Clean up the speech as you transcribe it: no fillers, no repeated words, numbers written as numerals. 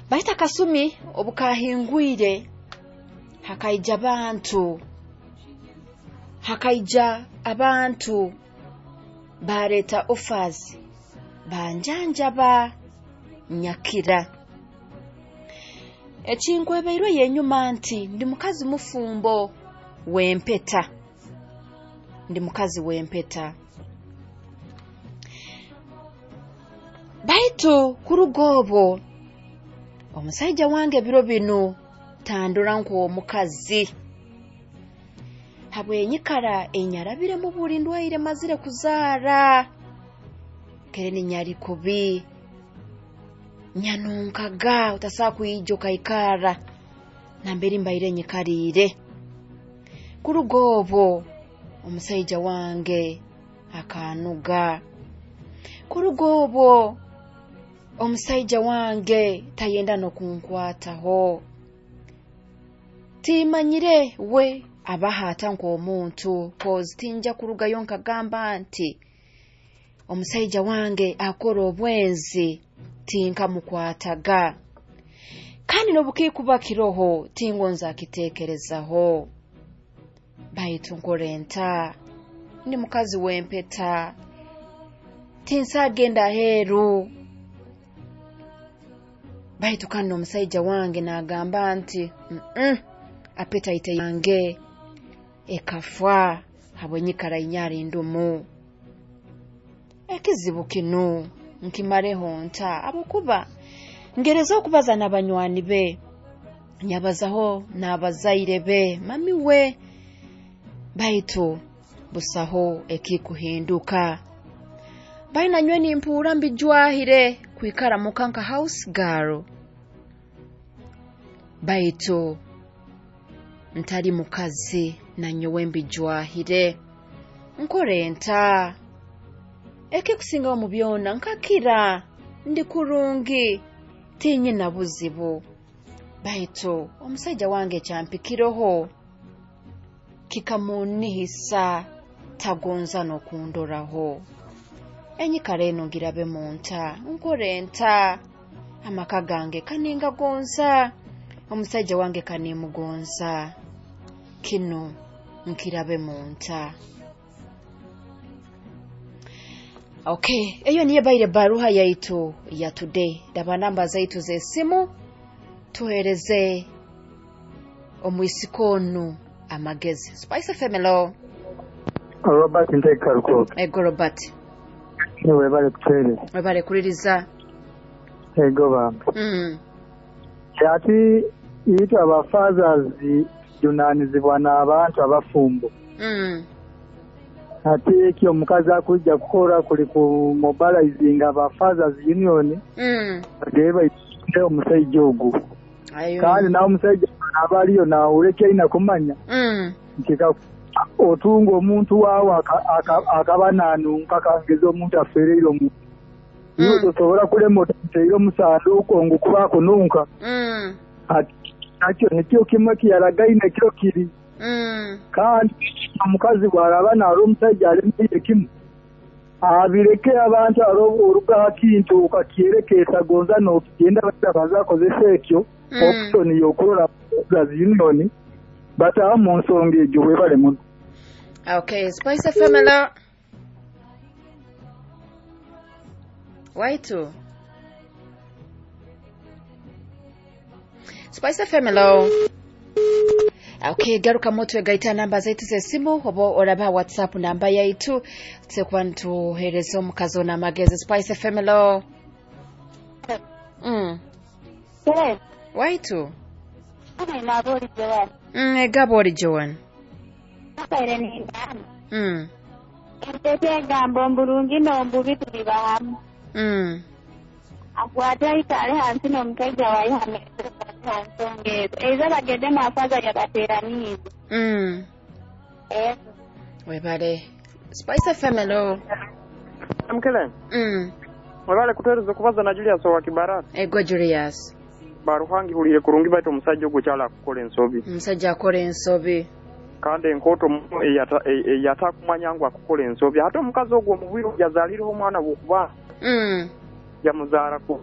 Baitu akasumi obukahingwire hakaija abantu bareeta offers, banjanjaba nyakira. Ekinkwebeirwe yenyuma nti ndi mukazi mufumbo w'empeta. Ndi mukazi w'empeta. Baitu kuruga obwo omusaija wange biro binu tandora nk'omukazi. Habwenyikara enyarabiremu buli ndwaire mazire kuzaara. Kere ninyari kubi. Nyanunkaga utasaa kwija okaikara nambere mbaire nyikariire. Kuruga obwo omusaija wange akanuga. Kuruga obwo omusaija wange tayenda n'okunkwataho. Timanyire we abahaata nk'omuntu, cause tinja kurugayo nkagamba nti omusaija wange akora obwenzi, tinkamukwataga. Kandi n'obukikuba kiroho tingonza akiteekerezaho. Baitu nkore nta, ndi mukazi w'empeta, tinsagenda aheeru. Baitu kandi omusaija wange n'agamba nti appetite yange ekafa habwenyikara inyari ndumu. Ekizibu kinu nkimareho nta, ahabwokuba ngereza okubaza n'abanywani be, nyabazaho n'abazaire be, mami we, baitu busaho ekikuhinduka. Baina nywe nimpuura mbijwahire kwikara muka nka house girl. Baitu ntari mukazi na nyowe mbijwahire. Nkore nta? Ekikusingaho mu byona nkakira ndi kurungi, tinyina buzibu. Baitu omusaija wange kyampikireho kikamunihisa, tagonza n'okundoraho. Enyikara eno ngirabe munta, nkore nta? Amaka gange kaningagonza, omusaija wange kanimugonza. Kinu nkirabe munta. Okay, eyo niyo baire baruha yaitu ya today. Daba namba zaitu z'esimu tuhereze omwisiko onu amagezi. Spice FM, hello. Robert Nteeka Rukoke. Ego Robert. Niwe bale kutereza. Webale kuliriza. Ego bambi. Ati itwe abafathers junanizibwa n'abantu abafumbo. Ati ekyo omukazi akujja kukora kuli ku mobilizing aba fathers union. Bagebe baite omusajja ogu. Kandi nawe omusajja aba aliyo naawuleka aina kumanya. Nti otunga omuntu waawe akaba nanunka kangeza omuntu afereire omuntu. Niwe tosobola kulema otateire omusanduuko ngu kuba akununka. Ati nakyo nikyo kimwe kiyaragaine kiro kiri. Kandi omukazi bw'araba naara omusajja alemeire kimu, abireke abantu orugaho kintu okakyerekeesa gonza n'okigenda baza akozesa ekyo option y'okurora union bataha mu nsonga egyo webale muno. Okay, Spice FM, hello. Waitu. Spice FM, hello. Okay, garuka moto egaita namba zaitu z'esimu oba oraba WhatsApp namba yaitu tukuba nituhereza omukazi ono amagezi. Spice FM, hello. Yes. Waitu. Nabori Joan. Egabori Joan. Abaire ningamba. Entete egambo mburungi n'ombubi tuli bahamu. Akwate ayikale hansi n'omusajja waye ha nsonga ezo. Ezo bagende mu afaza yabateeraniize. Webale. Spice FM, hello. Mkele. Webale kutuhereza okubaza na Julius owa Kibarati. Ego Julius. Baruhangi hulire kurungi baitu omusajja ogwo kyala akukola ensobi. Omusajja akola ensobi. Kandi enkoto eyatakumanya ngu akukola ensobi. Ate omukazi ogwo omubwire yazalireho omwana bw'okuba. Yamuzaara ku.